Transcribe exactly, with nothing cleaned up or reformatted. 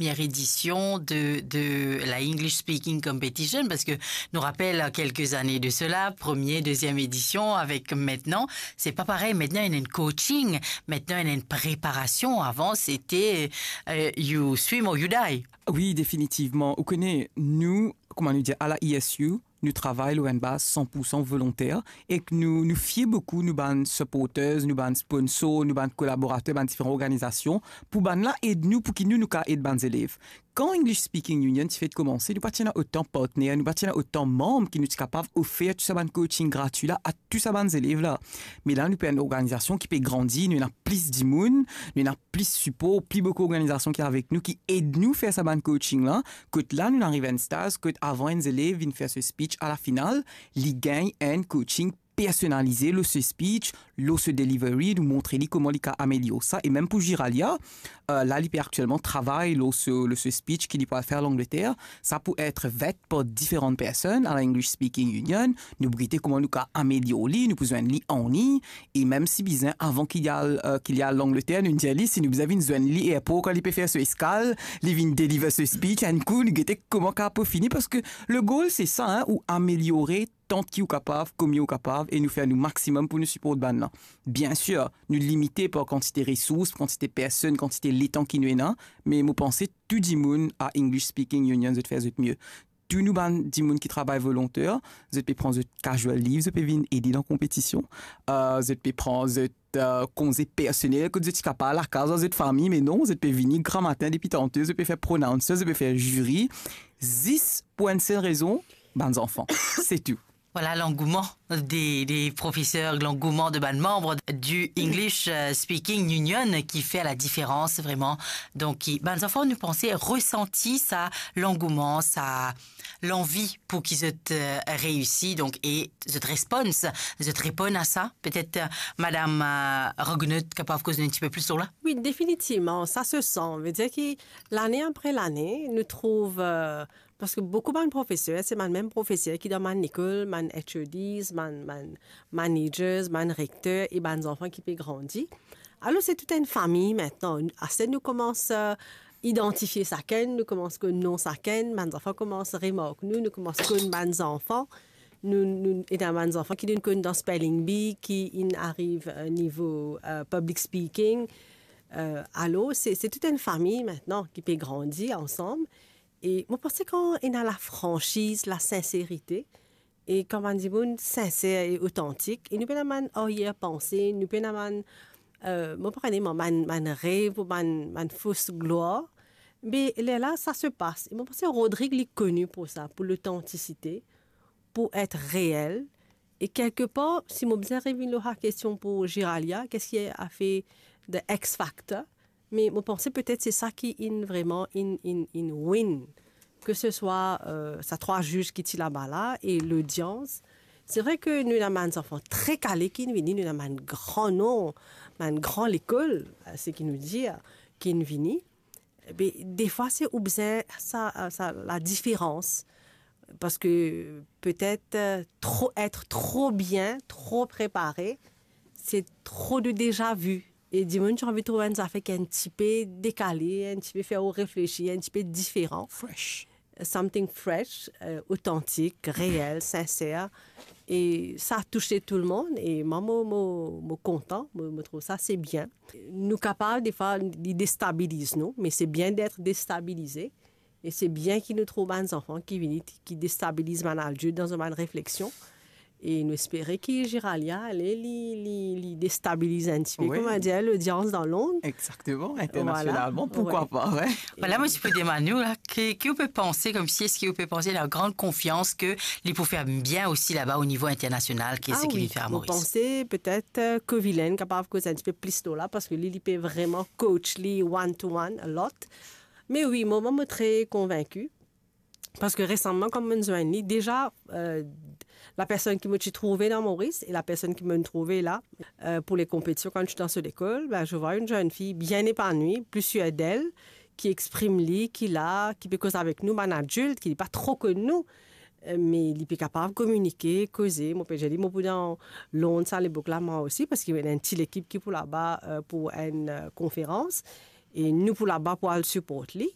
première édition de, de la English Speaking Competition, parce que nous rappelle quelques années de cela, première, deuxième édition, avec maintenant, c'est pas pareil. Maintenant, il y a un coaching, maintenant, il y a une préparation. Avant, c'était, euh, you swim or you die. Wi, definitivman. Ou kone, nou, kouma nou dir, a la E S U, nou travay lor enn baz san pou san volonter, ek nou, nou fier boukou nou bann supporters, nou bann sponsor, nou bann kolaborater, bann diferan organizasion, pou bann la ed nou, pou ki nou, nou ka ed bann zelev. Kan English Speaking Union ti fek komanse, nou pa ti ena otan partner, nou pa ti ena otan manm ki nou ti kapav ofer tou sa bann coaching gratwi la a tou sa bann zelev la. Me la, nou pe enn organizasion ki pe grandi, nou ena plis dimoun, nou ena plis sipor, pli boukou organizasion ki avek nou, ki ed nou fer sa bann coaching la. Kot la, nou ariv enn staz kot avan enn zelev vinn fer so speech, a la final, li gagn enn coaching personalize lor so speech, lor so delivery, nou montre li kouma li ka amelior sa. E mem pou Giralia, euh, la, li pe aktielman travay lor so, lor so speech ki li pou al fer Langleter. Sa pou et vet par diferan personn a la English Speaking Union. Nou pou gete kouma nou ka amelior li, nou pou zwenn li an li. E mem si bizin, avan ki li al, euh, ki li al Langleter, nou dir li, si nou bizin vinn zwenn li airport kan li pe fer so eskal, li vinn deliver so speech, enn kou, nou gete kouma ka pou fini, parski le goal, se sa, hein, ou ameliore tant ki ou kapav, kouma ou kapav, e nou fer nou maximum pou nou siport bann la. Bien sir, nou limite par kantite resours, kantite personn, kantite letan ki nou ena, me mo panse tou dimoun a English Speaking Union, zot fer zot mie. Tou nou bann dimoun ki travay volonter, zot pe pran zot casual leave, zot pe vinn ede dan konpetision, euh, zot pe pran zot, euh, konze personel, kot zot ti kapav lakaz ar zot fami, me non, zot pe vini gramatin depi tante, zot pe fer pronouncer, zot pe fer ziri, zis pou enn sel rezon, bann zanfan. Se tou. Voilà l'engouement des, des professeurs, l'engouement de bann manm du English, euh, Speaking Union qui fait la différence vraiment. Donc, qui, bann zanfan, nou panse, resanti sa, l'engouement, sa, lanvi pou ki zot, euh, reisi, donc, e zot response, zot reponn a sa. Petet, euh, madam, euh, Rognaud kapav koz nou enn tipe plis lor la? Wi, definitivman, sa se san. Vedir ki lane apre lane, nou trouv, euh, parski boukou bann profeser, se bann mem profeser ki dan bann lekol, bann H O Ds, bann, bann managers, bann rekter e bann zanfan ki pe grandi. Alor, se tou enn fami aster. Nou koumans, euh, idantifie sakenn, nou koumans konn nom sakenn, bann zanfan koumans remark nou, nou koumans konn bann zanfan. Nou, nou, ena bann zanfan ki nou konn dan spelling bee, ki inn ariv, euh, nivo, euh, public speaking. Euh, alor, se, se tou enn fami aster ki pe grandi ansam. E mo panse kan ena lafransiz, lasinserite, e kan bann dimoun sinser e otantik, e nou pena bann aryer panse, nou pena bann, euh, mo pa kone mwa, bann, bann rev ou bann, bann fos glwar, me lerla sa se pas. E mo panse Rodrigue li koni pou sa, pou lotantisite, pou et reel. E kelkepar, si mo bizin revinn lor sa kestion pou Giralia, kisa ki afe the X factor, me mo panse petet se sa ki inn vreman inn, inn, inn win, ke se swa, euh, sa trwa ziz ki ti laba la e lodians. Se vre ke nou ena bann zanfan tre kale ki inn vini, nou ena bann gran nom, bann gran lekol, euh, seki nou dir, ki inn vini. Be, defwa, se ou bizin sa, sa, ladiferans. Parski petet, euh, tro, et tro bien, tro prepare, se tro de déjà vu. E dimoun ti anvi trouv enn zafer ki enn tipe dekale, enn tipe fer ou reflesi, enn tipe diferan. Fresh. Something fresh, euh, otantik, reel, sinser. E sa touse tou lemonn. E mwa, mo, mo, mo kontan, mo, mo trouv sa, se bien. Nou kapav, defwa, li destabiliz nou, me se bien d'être déstabilisé. E se bien ki nou trouv bann zanfan ki vini, ki destabiliz bann adilt dan zot bann refleksion. E nou espere ki Giralia, ale, li, li, li destabiliz enn tipe, wi, kouma dir, lodians dan Lond. Exactement, internationalement, pourquoi pas, ouais. Voilà, mo ti pou demann ou la, ki, ki ou pe panse, koumsi, eski ou pe panse la gran konfians ke li pou fer bien osi laba o nivo internasional, ki seki li fer a Moris? Ah wi, mo panse petet, euh, Covilham kapav koz enn tipe plis lor la, parski li, li pe vreman coach li one to one a lot. Me wi, mwa, mo tre konvinki. Parski resaman, kan mo'nn zwenn li, deza, euh, lapersonn ki mo ti trouve dan Moris e lapersonn ki mo'nn trouve la, euh, pou le konpetision kan nou ti dan so lekol, ben, je vois une jeune fille bien épanouie, plus sûre d'elle, ki exprim li, ki la, ki pe koz avek nou, bann adilt, ki li pa tro konn nou, euh, me li pe kapav kominike, koze. Mo pe dir li, mo pou dan Lond sa lepok la, mwa osi, parski ena enn ti lekip ki pou laba, euh, pou enn, euh, konferans. E nou pou laba pou al siport li.